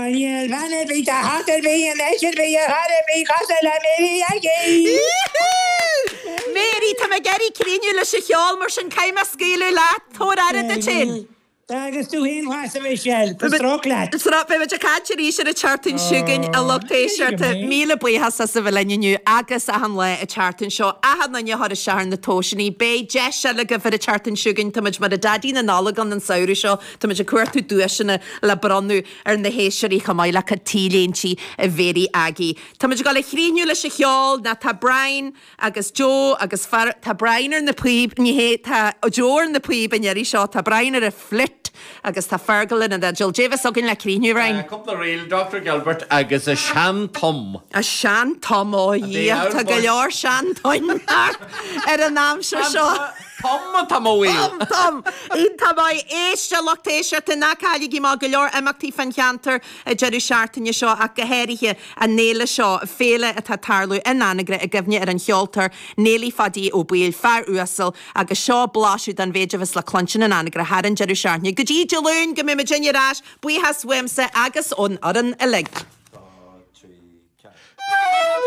Níl bean ar bith, teach ar bith, i ndeis ar bith, ar chor ar bith cosúil le Mary Aggie! Mary, tá mé ag iarraidh críochnú leis an cheol mar sin caithfidh mé scaoileadh leat. Tabhair aire duit féin. Agus tú féin fosta, Michelle. Tá stróc leat. Beidh muid ag caint arís ar an tseachtain seo chugainn, a lucht éisteachta. Míle buíochas as a bheith linn inniu agus achan lá an tseachtain seo. Achan duine a chuir isteach ar na tomhaiseanna. Beidh deis eile agaibh ar an tseachtain seo chugainn. Tá muid mar a Daidí na Nollag ann an samhradh seo. Tá muid ag cuartú duaiseanna le bronnadh ar na héisteoirí chomh maith le cuid T-léintí Mhary Aggie. Tá muid ag dul a chríochnú leis an cheol, ná tá Brian agus Joe agus Fer, tá Brian ar na píob, ní hé, tá Joe ar na píob an iarraidh seo, tá Brian ar an fliúit agus tá Fergal ar an fhidil. Dé bheas againn le críochnú, Brian? Cúpla ríl, Dr Gilbert agus a sean-tom. A sean-tom, ó a Dhia, tá go leor sean-toinn ar an aimsir seo. Tom atá mo mhaol. Tom, Tom! Iontach maith. Éist, a lucht éisteachta, ná cailligí amach, go leor imeachtaí fán cheantar an deireadh seachtaine seo ach go háirithe an fhéile seo, féile atá ag tarlú in Anagaire i gcuimhne ar an cheoltóir Néilí Phaidí Ó Baoill, fear uasal, agus seo blaiseadh den mhéid a bheas le cluinstin in Anagaire thar an deireadh seachtaine. Go dtí Dé Luain go mbeidh muidinne ar ais, buíochas uaimse agus ón fhoireann uilig.